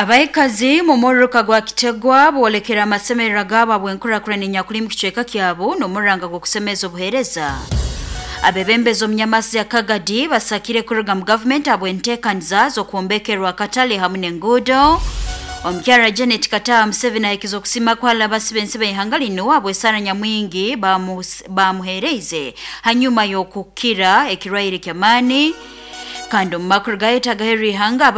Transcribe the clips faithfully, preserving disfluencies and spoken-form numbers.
Abaikazi mu muruka gwa Kitegwa boolekera amasemerero gaabo abw'enkurakurana enyakuli mu kicweka kyabo n'omuranga gw'okusemeza obuheereza. Abebembezi omu nyamasi ya Kagadi basakire kuruga mu gavumenti habw'enteekaniza z'okwombekerwa akatale hamu n'enguudo. Omukyara Janet Kataha Museveni ahikize okusima kwala abasibe ensi b'eihanga linu habw'esaara nyamwingi bamuheereize hanyuma y'okukira ekirwaire ky'amaani. Kandi omu makuru gayetagaheru ihanga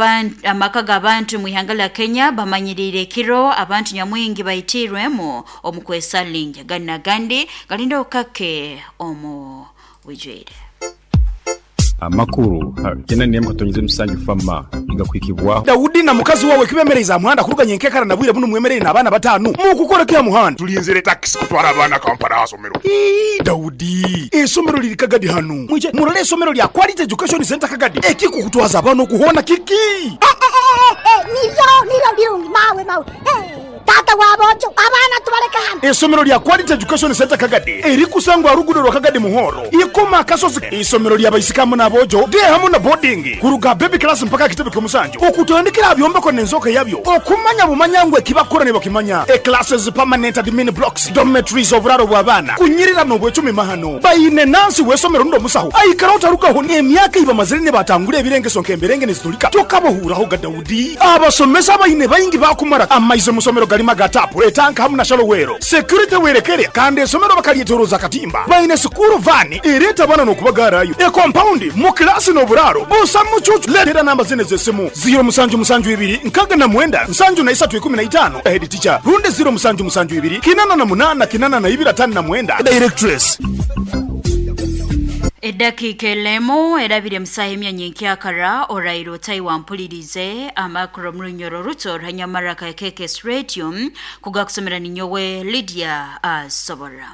amaka g'abantu mu ihanga lya Kenya bamanyiriire ekiro abantu nyamwingi baitiirwemu omu kwesalinja. Gani n'agandi galinda okukake omu bwijwire. Amakuru kena nemu katonyize musanju fama igakwikibwaho. Daudi na mukazi wawe kibemereza muhanda kuruganya enkekara na bwire buno mwemerere n'abaana batanu mukukora kya muhanda tulinzire taxi kutwara abaana Kampala asomero. Ii Daudi esomero liri Kagadi hano mwije murole esomero lya Quality Education Center Kagadi ekikukutwaza abaana okuhona kiki. Eh eh eh niyo niyo birungi mawe mawe eh tata wabojo abaana tubaleka hano. Esomero lya Quality Education Center Kagadi erikusangwa rugudo rwa Kagadi Muhoro ikoma kasozi. Isomero lya baisikamu n'abojo de hamu na boarding kuruga baby class mpaka kitebe ky'omusanju okutandikira byombeko n'enzoka yabyo okumanya bumanyangwe kibakora ne bakimanya e classes permanent admin blocks dormitories oburaro bw'abaana kunyirira n'obwecumi mahano bayine nansi wesomero ndo musaho aikara otarukaho n'emyaka ibamazire ne batangura ebirengeso nk'emberenge nezitulika tokabohuraho ga Daudi. Abasomesa bayine bayingi bakumara amaize musomero galima gatapu etanka hamu na shalowero security werekere kandi esomero bakalyeteroza katimba bayine sukuru vani ereta bana n'okubagarayo e compound mu klasi n'oburaro busa mucucu. Letera namba zine z'essimu zero musanju musanju ibiri nkaga na mwenda nsanju na isatu ikumi na itano head teacher runde zero musanju musanju ibiri kinana na munana kinana na ibiri atano na mwenda directress. Edakika elemu erabire musaha emyanya nkyakara orairo otayi wampulirize amakuru omurunyoro ruto ruhanyamaraka ya K K S Radio kugakusomera ninyowe Lydia Asobora.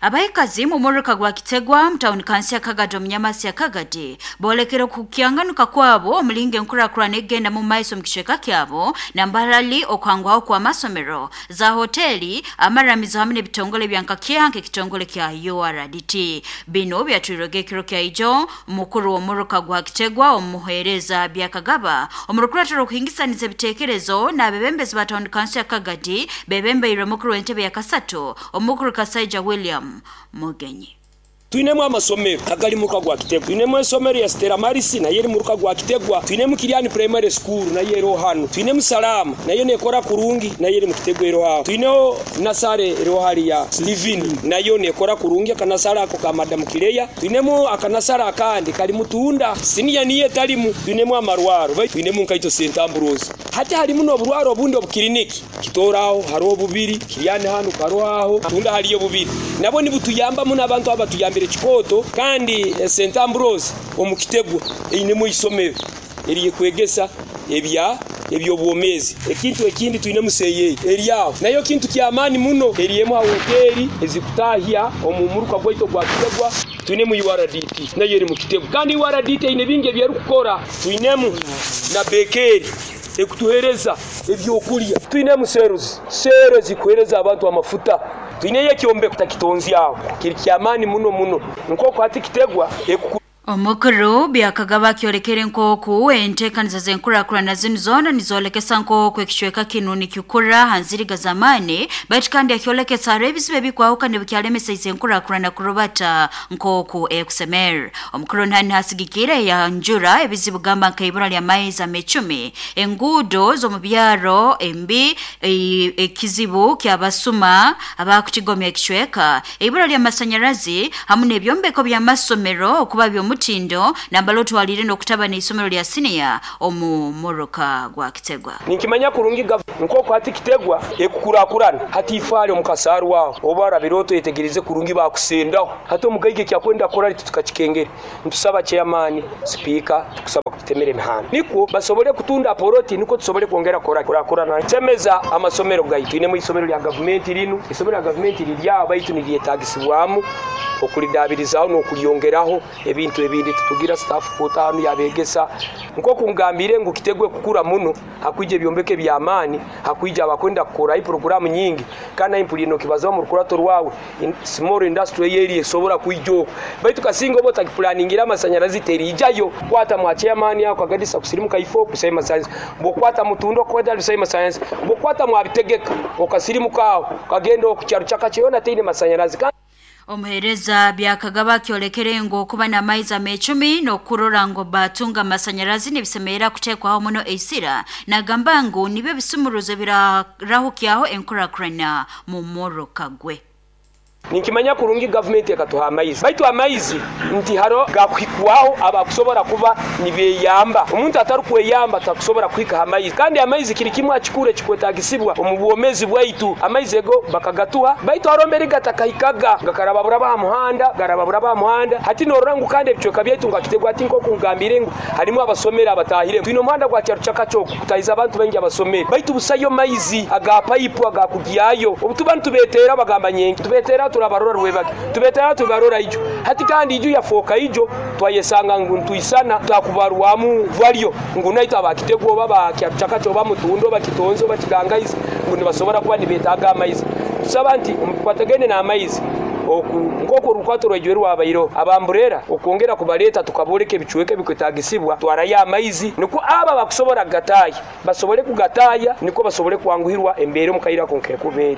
Abaikazi mu muruka gwa Kitegwa mutawuni kansi ya Kagadi omunyamasi ya Kagadi boolekera okukyanganuka kwabo omulinga enkurakurana egenda mu maiso mu kicweka kyabo nambarali okwangwaho kwa masomero za hoteli amaramizo hamwe n'ebitongole bya nkakyanka ekitongole kya U R D T. Bino byatwirwege ekiro kya ijo mukuru w'omuruka gwa Kitegwa omuheereza Byakagaba omurukuratiro okuhingisaniza ebiteekerezo n'abebembezi ba tawuni kansi ya Kagadi bebembeirwe mukuru w'entebe ya Kasato omukuru Kasaija William Mugenyi. Twinemu amasomero agali muruka gwa Kitegwa, twinemu esomero ya Stella Maris nayo eri muruka gwa Kitegwa, twinemu Kiliani Primary School nayo ero hano, twinemu Salama nayo nekora kurungi nayo eri mu Kitegwa ero aho, twineo Nasare ero hali ya Steven nayo nekora kurungi akanasara ako ka Madam Kileya, twinemu akanasara akandi kali mutunda senior niye talimu, twinemu amarwaro twinemu nkaito Saint Ambrose hati halimu n'oburwaro obundi obukiliniki kitoraho hariho bubiri Kiliani hano karoaho tunda haliyo bubiri nabo nibutuyambamu n'abantu abatuyambire kikoto kandi Saint Ambrose omukitegwa einemu isomero eriye kwegesa ebya ebyobwomezi. Ekintu ekindi tuine museye eriaho nayo kintu kyamani muno eriyemu hoteli ezikutahya omumuruka gwaito gwa Kitegwa. Tuinemu U R D T nayo eri mu Kitegwa kandi U R D T ine bingi ebyerukukora, tuinemu na bekeri ekutuhereza ebyokulya, tuinemu seruzi sero zikuhereza abantu amafuta, tuineye kyombeko takitonzi aho kiri kyamani muno muno nkoko hati Kitegwa ekuku. Omukuru Byakagaba kyolekere nkoku enteekaniza z'enkurakurana zinu zoona nizoolekesa nkoku ekicweka kinu nikikura hanziriga zamani baitu kandi akyolekesa hariho ebizibu ebikwahukana ebikyalemesa izi enkurakurana kurubata nkoku ekusemera. Omukuru ntani hasigikire yanjura ebizibu gamba nkaibura lya maizi amecumi enguudo z'omu byaro embi ekizibu ky'abasuma abakutigomya ekicweka eibura lya masanyarazi hamu n'ebyombeko by'amasomero okuba by'omu mutindo nambalo twalire n'okutaba n'isomero lya senior omu muruka gwa Kitegwa. Ninkimanya kurungi nkoko hati Kitegwa ekukurakurana hati ifale omukasaru waho oba rabiroto yetegereze kurungi bakusendaho hati omugaige kyakwenda kora tukakikengere ntusaba chairman speaker tukusaba kutemera emihanda niko basobole kutunda poroti niko tusobole kwongera kora kurakurana temeza amasomero gaitu. Twinemu isomero lya government linu isomero lya government lirya baitu nilyetagisibwamu okulidabirizaho n'okulyongeraho ebintu Ebindi tutugira staff kotanu yabegesa nkoku ngambire ngu Kitegwe kukura muno hakwije ebyombeke by'amaani, hakwije abakwenda kukora programu nyingi kana impulino kibaza mu rukurato rwawe in, small industry yeri esobora kwijoko baitu kasinga obo takiplaningira amasanyarazi terijayo. Kwata mwa chairman yako agadisa kusirimuka ifo kusema science bokwata mutundo kwenda kusema science bokwata mwa bitegeka okasirimuka aho kagenda okukyaro chakacheyona teine masanyarazi. Omuhereza byakagaba kyolekere ngo kuba na maiza amecumi n'okurora ngo batunga amasanyarazi nibisemerera kutekwaho muno eisira, nagamba ngu nibyo bisumuruzo birahukyaho enkurakurana mu moroka gwe. Ninkimanya kurungi government yakatuha amaizi, baitu amaizi nti haro gakuhikwaho abakusobora kuba nibeyamba. Omuntu atarukweyamba takusobora kuhika amaizi, kandi amaizi kiri kimwe akikure kikwetagisibwa omu bwomezi bwaitu. Amaizi ego bakagatuha, baitu haro mbere gatakahikaga gakarababura ba muhanda garababura ba muhanda hati norora ngu kandi ebicweka byaitu ngakitegwa ati nko kungambire ngu harimu abasomera abatahire twino muhanda gwa kyaro chakachoko kutahiza abantu bengi abasomera, baitu busayo maizi aga pipe agakugiyayo obutuba ntubetera bagamba nyenki tubetera turabarora rwebage tubetera tubarora ijo hati kandi ijo yafoka ijo twayesanga ngu ntuisana takubarwamu valyo ngu naito abakitegwa baba kyachakacho bamutundo bakitonzo bakigangaiza ngu nibasobora kuba nibetaga amaizi. Tusaba nti omukwatagene na amaizi oku nkoko rukwato rwejwerwa abairo abamburera okongera kubaleta tukaboleka ebichweke bikwetagisibwa twarayo amaizi niko aba bakusobora gataya basobole kugataya niko basobole kwanguhirwa embere mukaira konkekubere.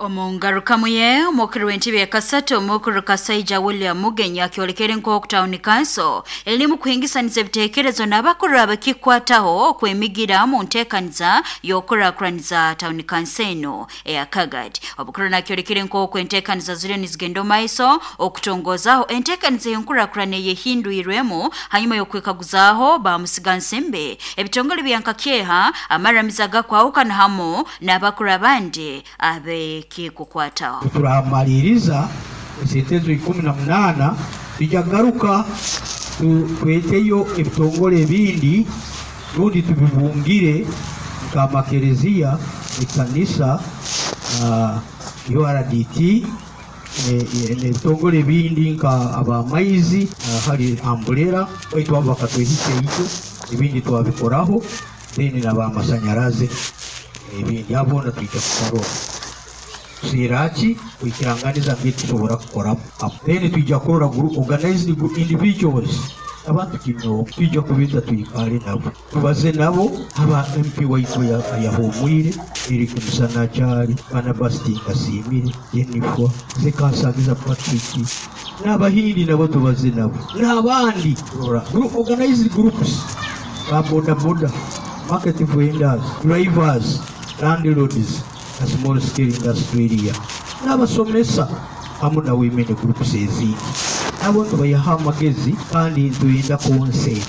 Omungarukamu ye omukuru w'entebe ya Kasatu omukuru Kasaija William Mugenyi akyolekere nk'oku town council erimu kuhingisaniza ebiteekerezo n'abakuru abakikwataho okwemigira mu nteekaniza y'okurakuraniza town council eno eya Kagadi. Obukuru nakyolekere nk'oku enteekaniza ziriyo nizigenda omu maiso okutongozaho enteekaniza y'enkurakurana eyehindwirwemu hanyuma y'okwekaguzaaho bamusigansimbe ebitongole bya Nkakyeha amaramiza gakwahukana hamu n'abakuru abandi abe kukwataho. Turamaliriza esentezo ikumi na munana tujagaruka tweteyo ebitongole ebindi rundi tubibungire nka makereziya, ekanisa, uh, U R D T, ebitongole ebindi nka abamaizi, uh, hari amburera baitu abo bakatwehisa ijo ebindi twabikoraho, then n'abamasanyarazi ebindi abo twija kukarora siraki kuikiranganiza ngitusobora kukora. Then tuija kurora group organized individuals abantu kino tuija kubita tuikale nabo tubaze nabo aba M P waitu yahumwire Eric Musanachari Barnabas Tinkasimire Jennifer Zekansagiza Patrick n'abahindi nabo tubaze nabo n'abandi group organized groups ba boda boda market vendors drivers landlords a small scale industry area n'abasomesa hamu na women groups ezindi nabo tubayaha amagezi kandi tuyenda consent.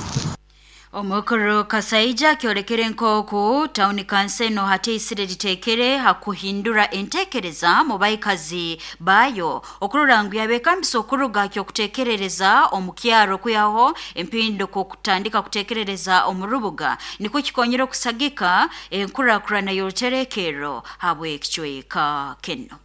Omukuru Kasaija kyolekere nk'oku town council no hateisire ritekere hakuhindura entekereza mu baikazi bayo okurora ngu yabekambisa okuruga kyokutekerereza omukyaro kuyaho empindo kutandika kutekerereza omurubuga niko kikonyera okusagika enkurakurana y'oruterekero habwe ekicweka keno.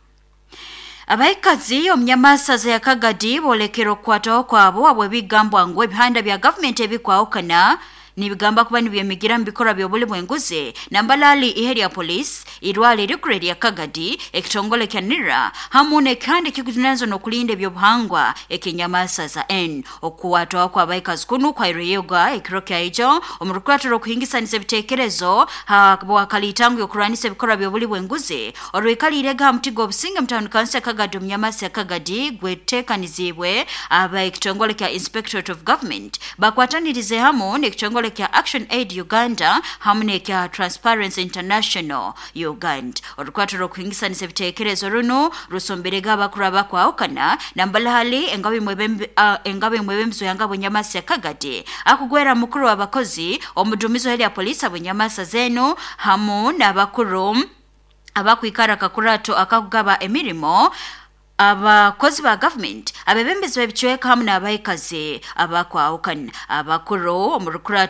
Abaikazi omunyamasaza ya Kagadi bolekera okukwataho kwabo abwe bigambwa ngu ebihanda bya government ebikwahukana nibigamba kuba nibyemigira mu bikorwa by'obuli bw'enguzi nambalali ihe lya police irwale rikuru lya Kagadi ekitongole kya Nira hamu n'ekihanda ekikujunanizwa n'okulinda ebyobuhangwa ekinyamasaza N. Okukwatwaho kw'abaikazi kunu kwaireyoga ekiro kyaijo omu rukurato rw'okuhingisaniza ebiteekerezo bwakaliitangu y'okurwanisa ebikorwa by'obuli bw'enguzi orwikaliirega ha muti gw'obusinge mu town council ya Kagadi omunyamasa ya Kagadi gweteekanizibwe aba ekitongole kya Inspectorate of Government bakwatanirize hamu n'ekitongole kya Action Aid Uganda hamu n'ekya Transparency International Uganda. Orukwato rw'okuhingisanisa ebiteekerezo runo rusomberega abakuru abakwahukana nambalahali engabi mwebembe uh, engabi mwebembizo yanga bunyamasa ya Kagadi akugwera mukuru w'abakozi omudumizo heli ya polisi abunyamasa zenu hamu n'abakuru abakwikara kakurato akakugaba emirimo abakozi ba government abebembezi b'ebicweka hamu n'abaikazi abakwahukana abakuru omu rukurato